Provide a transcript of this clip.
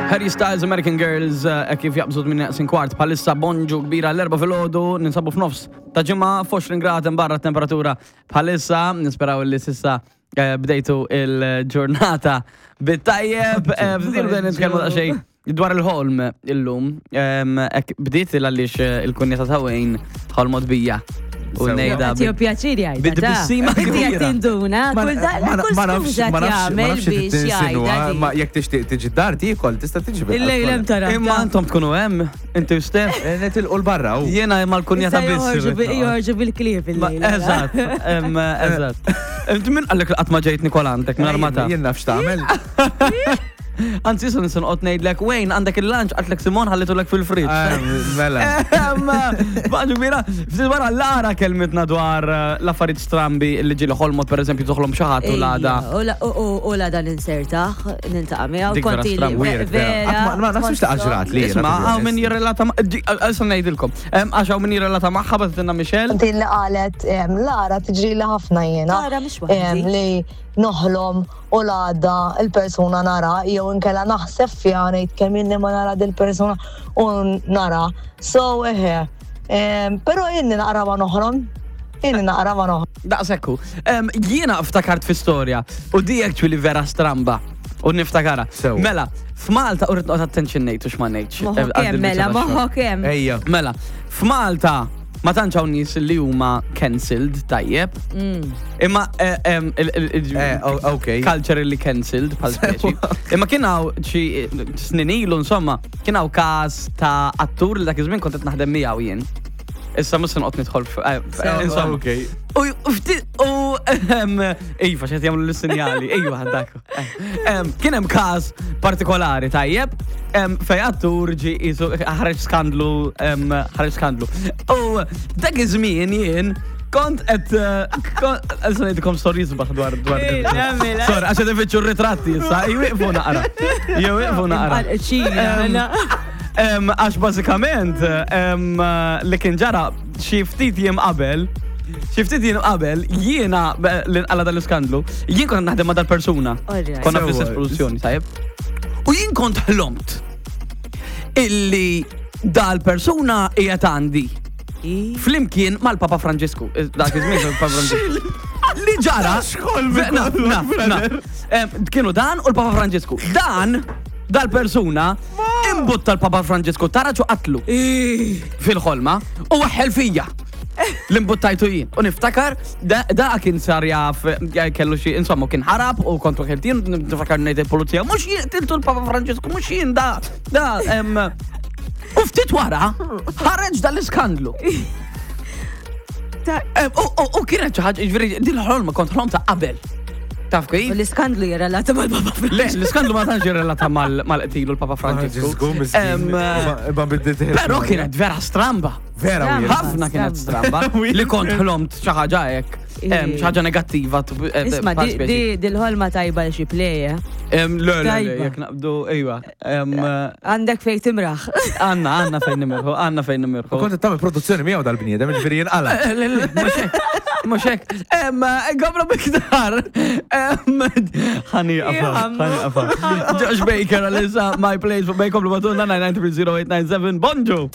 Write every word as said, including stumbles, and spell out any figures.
Harry Styles, American Girls, eh, kif jaqbżu minn neqsin kwart, bħalissa bonġu kbira l-Erbgħa filgħodu, ninsabu f'nofs ta' ġimgħa, għoxrin grad barra temperatura bħalissa, nisperaw li s'issa eh, bdejtu il-ġurnata bit-tajjeb, eh, ftit bdejna nitkellmu daqsxejn dwar il-ħolm illum, em, ek bdiet il għaliex eh, il-kunjata ta' Wayne ħolmot bija. U Sewa. nejda Għatiju pjaċir jgħidha. Bid-tbissima Inti kbira. qed tinduna, kull da- kull Ma nafx, skuża ma nafx, ma jagħmel nafx biex tinsinwa, jgħidha. ma jekk tixtieq tiġi dar tiekol, tista' tiġi bil- Il-lejl hemm tara. Imma intom tkunu hemm, inti u Steph. Eh, Netilqu l-barra u. Jiena mal-kunjata biss. irrid noqgħod. Joħorġu bil-klieb Ma- il-lejl. Eżatt, em, eżatt. Inti min qallek li qatt ma ġejt Nikola għandek minn armata? Jien naf x'tagħmel. Anzi, issa nista' noqgħod ngħidlek, Wayne, għandek il-lunch, qaltlek Simon ħallitulek fil-fridge. Ah, Mela. Baġu kbira, ftit wara Lara kelmitna dwar eh, l-affarijiet strambi li ġieli ħolmot, per eżempju, toħlom xi ħadd u l-għada. U la- u- u- U l-għada ninsertaħ, niltaqa' miegħu. Dik vera konti li- strambi. Weird, vera. Vera. Ma naħsibx ta' ġrat li. Isma, hawn min jirrelata ma' issa ngħidilkom. Em, Għax hawn min jirrelata magħha bagħtitilna Michelle. Din li qalet em, Lara tiġri li ħafna jiena. Lara mhix waħdi. Em, Li noħlom u l-għada il-persuna nara, jew inkella naħseb fiha, ngħid kemm inni ma nara dil-persuna u nara. So eħe. Em, Però inni naqra ma noħlom. Inni naqra ma noħlom. Daqsekku. Em, Jiena ftakart fi storja u di actually vera stramba. U niftakara. Sew. Mela, f'Malta, u rrid noqgħod attention ngħid u x'ma ngħidx. Moħħok hemm, mela, moħħok hemm. Ejja. Mela, f'Malta ma tantx hawn nies li huma cancelled tajjeb. Mm. Imma eh, em, il- il- il- Eh, o- ok. culturally cancelled bħal speċi. Imma kien hawn xi snin ilu insomma, kien hawn każ ta' attur li dak iż-żmien kont qed naħdem miegħu jien. Issa mhux se noqgħod nidħol f- eh, Sew. insomma. Ok. U u ftit u ehm, iva x'qed jagħmlu l-sinjali, iva dak. Em, Kien hemm każ partikolari tajjeb, em, fej attur ġi isu ħareġ skandlu, em, ħareġ skandlu. U dak iż-żmien jien kont qed eh, kont issa ngħidilkom stories sbaħ dwar dwar. Eh, nagħmel, Sorry, għax qed ifittxu r-ritratti issa, jwieqfu naqra. Jwieqfu naqra. Ċina, Em, em, Għax bażikament em, li kien ġara xi ftit jiem qabel, xi ftit jiem qabel, jiena be- li nqala dal-iskandlu, jien kont naħdem ma' dal-persuna. Alright. Konna fl-istess Sewa. produzzjoni, tajjeb. U jien kont ħlomt illi dal-persuna qiegħed għandi flimkien mal-Papa Franġisku. Dak iż-żmien il-Papa Franġisku. Li ġara. Na, na, na. Em, Kienu dan u l-Papa Franġisku. Dan, dal-persuna, imbutta l-Papa Franġisku taraġ u qatlu fil-ħolma u waħħel fija. L-imbuttajtu jien. U niftakar, da, da kien sar jaf, ja, kellu xi, insomma, kien ħarab u kontu ħeltin, niftakar ngħid il-pulizija, mhux jien qtiltu l-Papa Franġisku, mhux jien da, da, em, u ftit wara, ħareġ dal-iskandlu. Em, U u- u kienet xi ħaġa, jiġifieri, din l-ħolma kont ħlom ta' qabel. Taf kif? U l-iskandlu jirrelata mal-Papa Le, l-iskandlu ma tantx jirrelata mal- mal-qtilu l-Papa Franġisku. Franġisku, miskin. Em, Ma- Ma biddit. Però kienet vera stramba. Vera weird. Ħafna kienet stramba. Li kont ħlomt xi ħaġa hekk. em, Xi ħaġa negattiva. tu- eh, Isma, bħal di- speċi. di dil-ħolma tajba li xi play, eh? Em, Le, le, le, Tajba. jekk naqbdu, ejwa. Em, eh, Għandek fej timraħ. Għanna, għanna fejn nimirħu, għanna fejn nimirħu. U kont tagħmel produzzjoni miegħu dal-bniedem, ġifieri jinqala. Eh, Le, le, mhux hekk, mhux hekk. Em, Għabra biktar. Em, Ħani għafa, ħani għafa. Josh Baker, għalissa, My Place, bejkom l-batuna nine nine three zero eight nine seven. Bonġu.